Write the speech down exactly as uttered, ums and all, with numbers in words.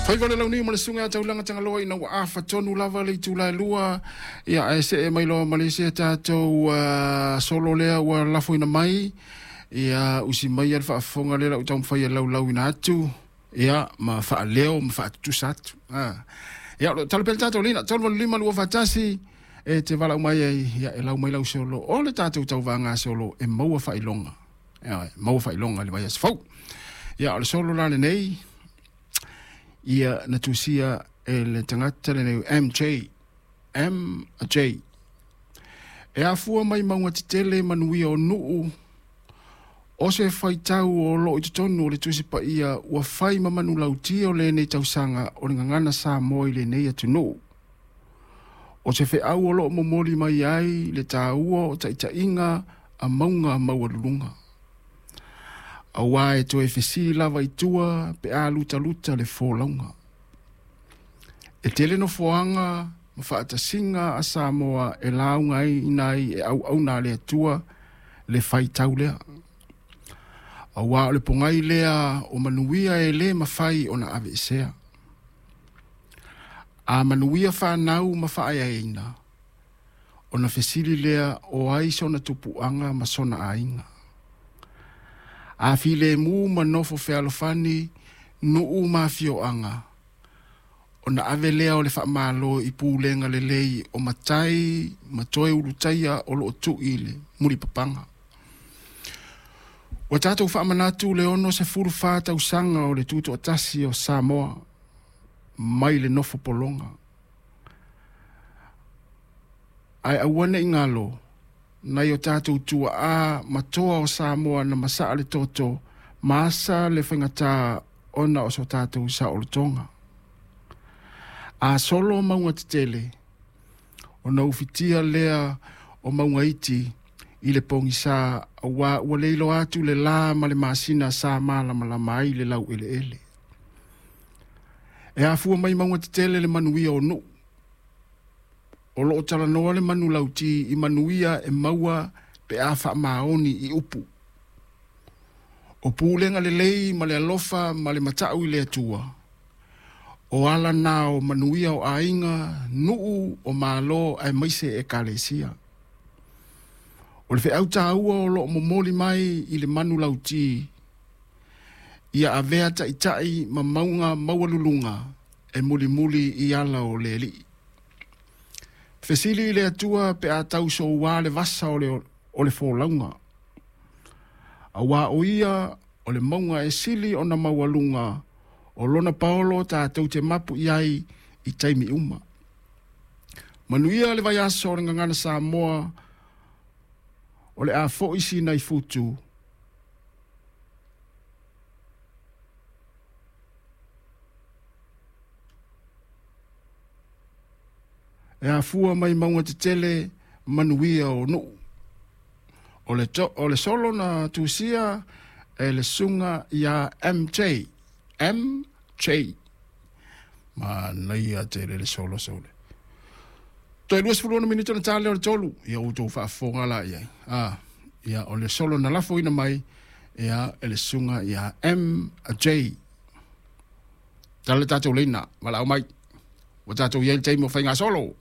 Faiva le launiu ma le susuga ia Taulaga Tagaloa ina ua afa tonu lava le itula e lua ia ae see mai loa ma le isi a tatou uh, solo lea ua lafoina mai ia usi mai le faafofoga lea lau taumafai e laulauina atu ia ma faaleo ma faatutusa atu. Ah. Ia o talo pea le tatou lina tolu valu lima lua faatasi e te valaau mai ai ia e lau mai lau solo o le tatou tauvaga solo e maua faailoga. Ia maua faailoga i le vaiaso fou. Ia o le solo la lenei ia na tusia e le tagata lenei M J M J e afua mai mauga tetele manuia o nuu o se faitau o loo i totonu o le Tusi Paia ua fai ma manulauti o lenei tausaga o le gagana Samoa i lenei atunuu. O se feau o loo momoli mai ai le taua o taitaiga a mauga maualuluga. Auā e toe fesili lava i tua pe a lutaluta le folauga. E tele nofoaga ma faatasiga a Samoa e lauga ai ina ai e auauna a le Atua le faitau lea. Auā o le pogai lea o manuia e lē mafai ona aveesea. A manuia fanau ma faaeaina, ona fesili lea o ai sona tupuaga ma sona aiga. A filemu ma nofo fealofani, nuu ma afioaga, ona ave lea o le faamalo i pulega lelei o matai ma toe ulutaia o loo tuu i le mulipapaga. Ua tatou faamanatu le ono sefulu fa tausaga o le tutoatasi o Samoa mai le nofo pologa. Ae aua ne i galo, nai o tatou tuaa ma toa o Samoa na masaa le toto, ma asa le faigata ona o so tatou saolotoga. A solo mauga tetele, ona ufitia lea o mauga iti i le pogisa auā ua le iloa atu le la ma le masina sa malamalama ai le laueleele. E afua mai mauga tetele le manuia o nuu. O loo talanoa le manulauti i manuia e maua pe a faamaoni i upu. O pulega lelei ma le alofa ma le matau i le Atua. O ala na o manuia o aiga, nuu o malo aemaise ekalesia. O le feau taua o loo momoli mai i le manulauti, ia avea taitai ma mauga maualuluga e mulimuli i ala o le Alii. Fesili i le Atua pe a tau soua le vasa o le, o le folauga. Auā o ia o le mauga e sili ona maualuga o lona paolo tatou te mapu i ai i taimi uma. Manuia le vaiaso o le gagana Samoa o le a foi sina i futu. E afua mai mauga tetele manuia o nuu. O le, to, o le solo na tusia e le susuga ia M J. M J. Manaia tele le solo sole. Toe luasefulu ono minute ona ta lea o le tolu. Ia outou faafofoga la i ai. Ah, ia o le solo na lafoina mai ia e le susuga ia M J. Tala le tatou leina, valaau mai. Ua tatou i ai le taimi o faiga solo.